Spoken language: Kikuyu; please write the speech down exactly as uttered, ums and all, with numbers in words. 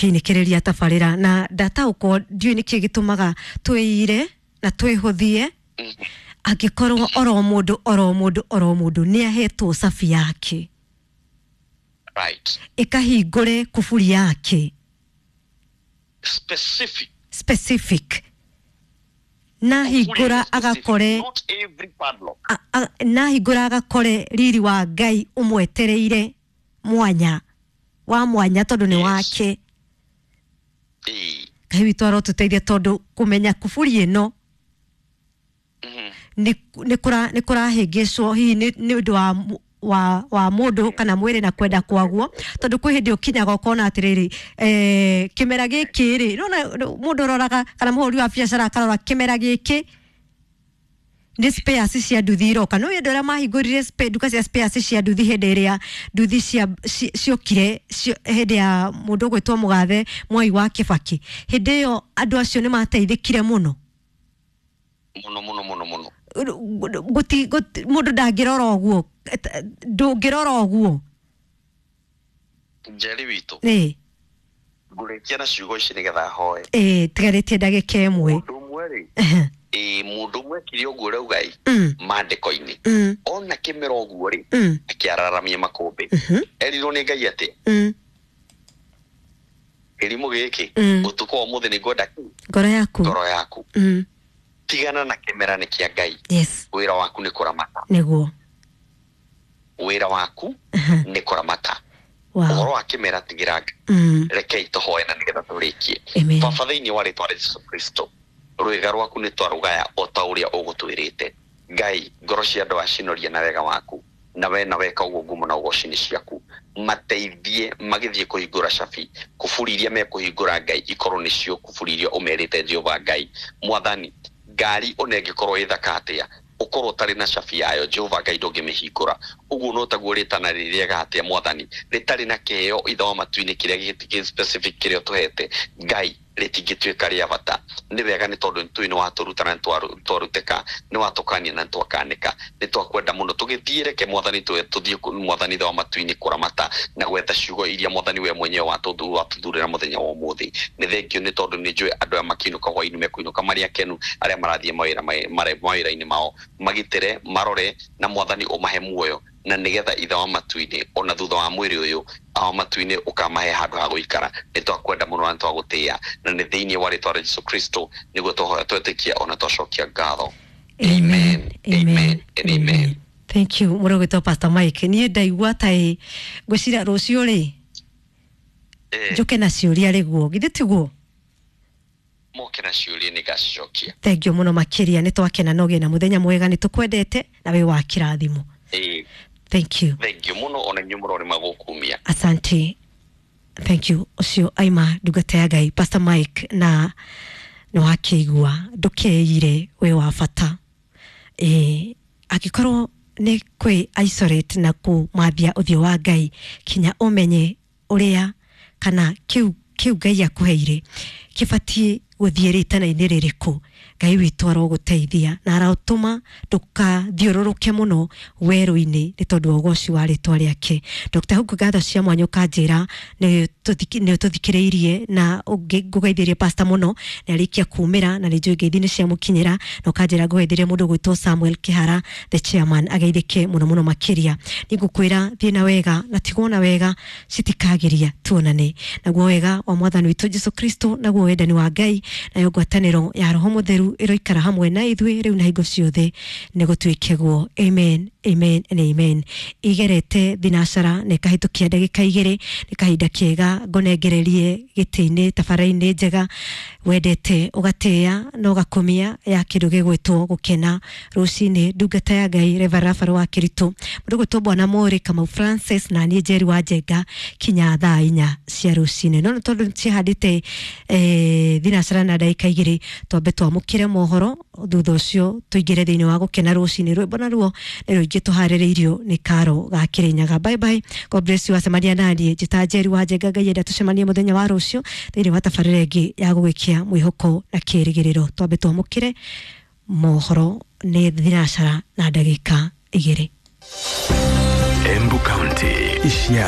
Tũkĩinĩkĩrĩria tabarĩra na ndataũkwo ndiũĩ nĩkĩ gĩtũmaga twĩire na twĩhũthie angĩkorwo oro mũndũ oro mũndũ oro mũndũ nĩ ahetwo cabi yake right ĩkahingũre kuburi yake specific specific na hingũra agakore not every padlock a- a- na hingũra agakore riri wa Ngai ũmwetereire mwanya wa mwanya tondũ nĩ Yes. wake Ĩĩ. Ngai witũ arotũteithia tondũ kũmenya kuburi ĩno Mhm. nĩ nĩ kũra- nĩ kũrahĩngĩcwo hihi nĩ nĩ ũndũ wa mu- wa wa mũndũ kana mwĩrĩ na kwenda kwaguo tondũ kwĩ hĩndĩ ũkinyaga ũkona atĩrĩrĩ eh, kĩmera gĩkĩ rĩ nona mũndũ ũroraga kana mũhũri wa biacara akarora kĩmera gĩkĩ nĩ spares cia nduthi iroka no andũ arĩa mahingũrire spa- nduka cia spares cia nduthi hĩndĩ ĩrĩa nduthi cia ci- ciokire cio- hĩndĩ ya mũndũ ũgwĩtwo mũgathe Mwai wa Kĩbakĩ hĩndĩ ĩyo andũ acio nĩ mateithĩkire mũno Mũno mũno mũno mũno guti guti mundu ndangirora ũguo ndũngĩrora ũguo Njeri witũ ĩ ngũrĩkia na ciugo ici nĩgetha hoe ĩ tigarĩtie ndagĩka ĩmwe mũndũ ũmwe rĩ ĩ mũndũ ũmwe ekire ũguo ũrauga ĩ Mm, maandĩko-inĩ mm, ona kĩmera ũguo rĩ mm, akĩararamia makũmbĩ mhm, erirwo nĩ Ngai atĩ mm. kĩrimũ gĩkĩ Mm. ũtukũ wa ũmũthĩ nĩ ngwenda kĩ ngoro yaku ngoro yaku Mm, tigana na kĩmera nĩ kĩa Ngai yes wĩra waku nĩ kũramata nĩguo wĩra waku Aha, nĩ kũramata wow ũhoro wa kĩmera tigĩra Ngai Mm, rekei tũhoe na nĩgetha tũrĩkie amen baba thĩinĩ wa rĩtwa rĩa Jesu Kristo rwĩga rwaku nĩ twarũgaya o ta ũrĩa ũgũtwĩrĩte Ngai ngoro cia andũ acinoria na wega waku na we na weka ũguo ngumo na ũgoci nĩ ciaku mateithie magĩthiĩ kũhingũra cabi kuburi iria mekũhingũra Ngai ikorwo nĩcio kuburi iria ũmerĩte Jehova Ngai mwathani ngari ona ĩngĩkorwo ĩ thaka atĩa ũkorwo ũtarĩ na cabi yayo Jehova Ngai ndũngĩmĩhingũra ũguo no taguo rĩtana rĩ rĩega atĩa mwathani rĩtarĩ na kĩheo ithe wa matu-inĩ kĩrĩa gĩ specific kĩrĩa ũtũhete Ngai rĩtingĩtuĩka rĩa bata nĩ wega nĩ tondũ nĩ tũĩ nĩ watũruta na nĩ twaru- twarutĩka nĩ watũkania na nĩ twakanĩka nĩ twakwenda mũno tũgĩthiĩ reke mwathani tũ- tũthiĩ kũ- mwathani ithe wa matu-inĩ kũramata na gwetha ciugo iria mwathani we mwenyewe watũthu- watũthurĩra mũthenya wa ũmũthĩ nĩ thengio nĩ tondũ nĩ njũĩ andũ aya makĩinũka hwaĩ-inĩ mekũinũka marĩ akenu arĩa marathiĩ mawĩra mare- mawĩra-inĩ mao magitĩre marore na mwathani ũmahe muoyo na nĩgetha ithe wa matu-inĩ ona thutha wa mwĩrĩ ũyũ wa matu-inĩ ũkamahe handũ ha gũikara nĩ twakwenda mũno na nĩ twagũtĩĩa na nĩ thĩinĩ wa rĩtwa rĩa Jesu Kristo nĩguo twahoya twetĩkia ona twacokia ngatho amen amen and amen thank you mũrũ gwĩtwo Pastor Mike niĩ ndaigua ta ĩ ngwĩciria rũciũ rĩ Eh, njũke na ciũria rĩguo githĩ tiguo moke na ciũria nĩ ngacicokia thengio mũno makĩria nĩ twakena na ũgĩe na mũthenya mwega nĩ tũkwendete na wĩ wa kĩrathimo Ĩĩ, thank you thengio mũno ona inyuĩ mũrorĩ magũkumia asante thank you ũcio aima ndungata ya Ngai Pastor Mike na nĩ wakĩigua ndũkeire wĩ wa bata ĩ angĩkorwo nĩ kwĩ isolate na kũmathia ũthiũ wa Ngai kinya ũmenye ũrĩa kana kĩu kĩu Ngai akũheire kĩbatiĩ gũthiĩ rĩtana-inĩ rĩrĩkũ Ngai witũ arogũteithia na arotũma ndũkathiũrũrũke mũno werũ-inĩ nĩ tondũ wa ũgoci wa rĩtwa rĩake Dr. Hugu ngatho cia mwanya ũkanjĩra nĩ tũthiki- nĩ ũtũthikĩrĩirie na ũngĩ- ngũgeithĩrie pastor mũno nĩ arĩkia kumĩra na nĩ njũĩ ngeithi nĩ ciamũkinyĩra na ũkanjĩra ngũgeithĩrie mũndũ ũgwĩtwo Samuel Kĩhara the chairman ageithĩke mũno mũno makĩria nĩ ngũkwĩra thiĩ na wega na tigwo na wega citikagiria tuonane naguo wega wa mwathani witũ Jesu Kristo naguo wendani wa Ngai nayo ngwatanĩro ya Roho Mũtheru ĩroikara hamwe na ithuĩ rĩu na hingo ciothe nĩ gũtuĩke amen amen and amen igerete thinacara na ĩkahĩtũkia ndagĩka igĩrĩ nĩ kahinda kega ngonengererie gĩtĩ-inĩ tabara-inĩ njega wendete ũgatĩĩa na ũgakumia ya kĩndũ gĩgwĩtwo gũkena rũcinĩ ndungata ya Ngai Reverend Rafael wa Kĩritũ mũndũ gwĩtwo Bwana Mũrĩ Kamau Francis na niĩ Njeri wa Njenga kinya thaa inya cia rũcinĩ no nĩ tondũ cihandĩte eh, thinacara na ndagĩka igĩrĩ twambe twamũkĩre mohoro thutha ũcio tũingĩre thĩinĩ wa gũkena rũcinĩ rwĩmbo naruo nĩ rũingĩ tũharĩrĩirio nĩ karo ga Kĩrĩnyaga bye bye god bless you acemania naniĩ njĩta Njeri wa Njenga Ngai enda tũcemanie mũthenya wa rũciũ thĩinĩ wa tabarĩra ĩngĩ ya gũgĩkia mwĩhoko na kĩĩrĩgĩrĩro twambe twamũkĩre mohoro nĩ thinacara na ndagĩka igĩrĩ Embu County. Ishia